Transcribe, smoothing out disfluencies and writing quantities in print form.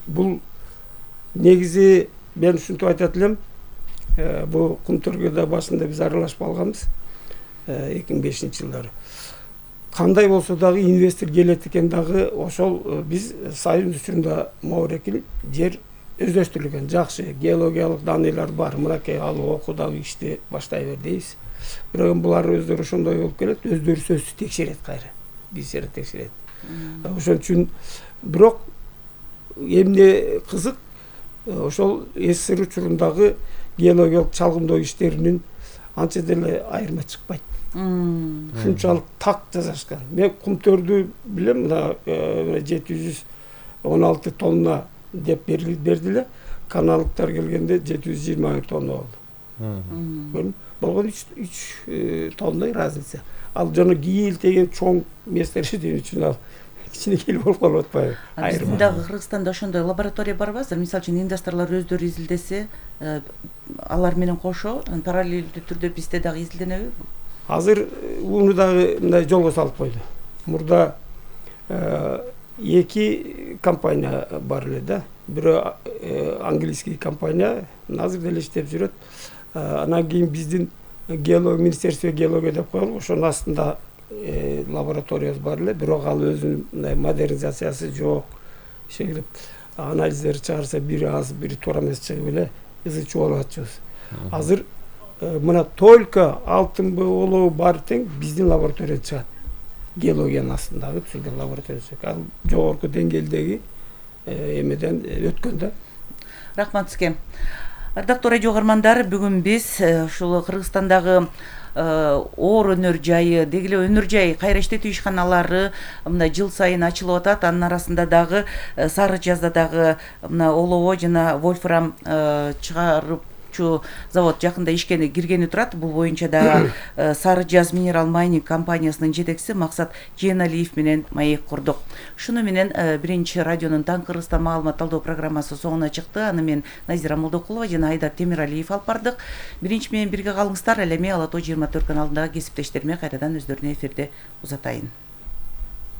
бул негизи мен ушинтип айтат элем, бул Кумтөргөдө башында биз аралашып алганбыз 2005-жылдары. Кандай болсо дагы инвестор келет экен дагы ошол биз Союз учурунда Маврекил жер өздөштүрүлгөн, жакшы геологиялык даныйлар бар, мынакей алып оку дагы ишти баштай бер дейбиз. Бирок булар өздөрү ошондой болуп келет, өздөрү сөзсүз текшерет кайра. Биз жерди текшерет. Ошон үчүн бирок эмне кызык, ошол СССР учурундагы геологиялык чалгымдоо иштеринин анча деле айырма чыкпайт. Ушунчалык так жасашкан. Мен Кумтөрдү билем, мына 716 тонна деп бердиле. Каналдыктар келгенде 721 тонна болду. Болгон 3 тонна разница. Ал жана кийил деген чоң месторождение үчүн ал кичинекей болуп калып атпайбы? Биздин дагы Кыргызстанда ошондой лаборатория барбы азыр? Мисалы үчүн инвесторлор өздөрү изилдесе, алар менен кошо параллелдүү түрдө бизде дагы изилденеби? Азыр уну дагы мындай жолго салып койду. Мурда 2 компания бар эле да. Бирөө английский компания азыр деле иштеп жүрөт. Анан кийин биздин Министерство геология деп коелу, ошонун астында лабораториябыз бар эле, бирок ал өзүнүн модернизациясы жок. Ишенип анализдер чыгарса бири аз, бири туура эмес чыгып эле ызы чуу болуп атчыбыз. Азыр мына только алтынбы олоо бар тең биздин лабораторияда чыгат. Геологиянын астындагы түзүлгөн лаборатория чыгат. Ал жогорку деңгээлдеги эмеден өткөн да. Рахмат сизге. Ардактуу радио угармандар, бүгүн биз ушул Кыргызстандагы оор өнөр жайы, деги эле өнөр жай кайра иштетүү ишканалары мына жыл сайын ачылып атат. Анын арасында дагы Сары Жазда дагы мына олоо жана вольфрам чыгарып завод жакында ишке киргени турат. Бул боюнча дагы Сары Жаз минерал майнинг компаниясынын жетекчиси Максат Жээналиев менен маек курдук. Шуну менен биринчи радионун Таң Кыргызстан маалымат талдоо программасы соңуна чыкты. Аны мен Назира Молдокулова жана Айдар Темиралиев алып бардык. Биринчи менен бирге калыңыздар. Ал эми Ала Тоо 24 каналындагы кесиптештериме кайрадан өздөрүнө эфирде узатайын.